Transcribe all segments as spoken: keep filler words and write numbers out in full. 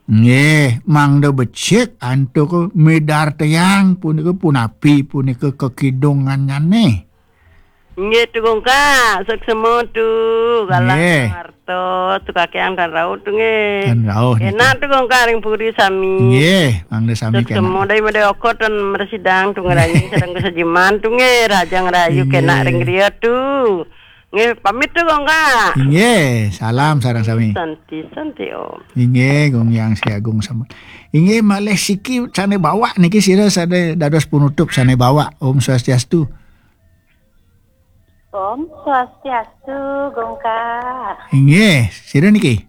Nggih, mangda becik antuk midartayang punika punapi punika kakidungannyané. Nggih, Tu Gongka, suksma Tu, galah Nggih. Ngarto, Tu Kakiang tan rauh Tu nggih. Tan rauh niki. Enak Tu Gongka ring puri sami. Nggih, mangda sami Suksma kénak. Dai mada okot tan mrasidang Tu ngranjing sareng kasajiman Tu nggih, rahajeng rahayu Nggih. Kénak ring griya Tu. Nggih, pamit Tu Gongka. Nggih, salam sareng sami. Santi, santi Om. Inggih, Gung Hyang Agung sampun. Inggih, malih siki sané bawak niki sira sané dados penutup sané bawak. Om Swastiastu. Om Swastiastu, Gongka. Inggih, sira niki?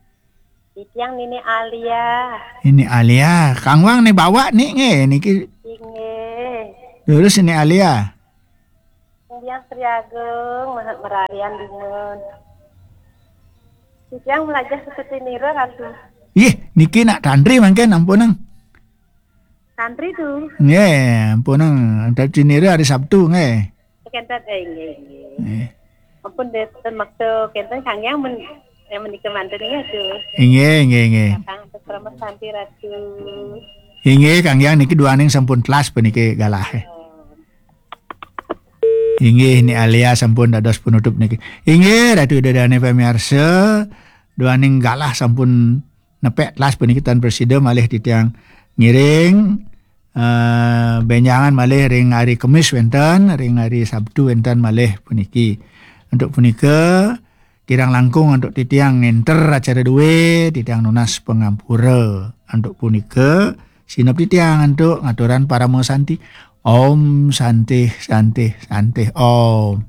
Titiang Nini Alia. Nini Alia, Kang Wang né bawak nik nggih niki. Inggih. Terus Nini Alia. Titiang Sri Agung, Maha Merarian Dumun. Titiang melajah seperti nira, Ratu. Nggih, niki nak tantri mangkin ampunang. Santri Tu. Nggih, ampunang. Tantri nira hari Sabtu nggih. Kénten, eh, nggih, nggih. Nggih. Ampun deh, ten maksa kénten Kang Yang men, yang menika manten nggih Tu. Inggih, inggih, inggih. Kakang atas krama santi Ratu. Inggih, Kang Yang niki duaning sampun telas puniki galah. Oh. Inggih, Ni Alia sampun dados penutup niki. Inggih, Ratu Ida Dané pamiarsa, duaning galah sampun nepek telas puniki tan prasida malih titiang ngiring, eh, bénjangan malih ring hari Kemis wénten, ring hari Sabtu wénten malih puniki. Antuk punika, kirang langkung antuk titiang ngénter acara duwé, titiang nunas pangampura. Antuk punika, sineb titiang antuk ngaturan parama santi. Om Santih, Santih, Santih Om.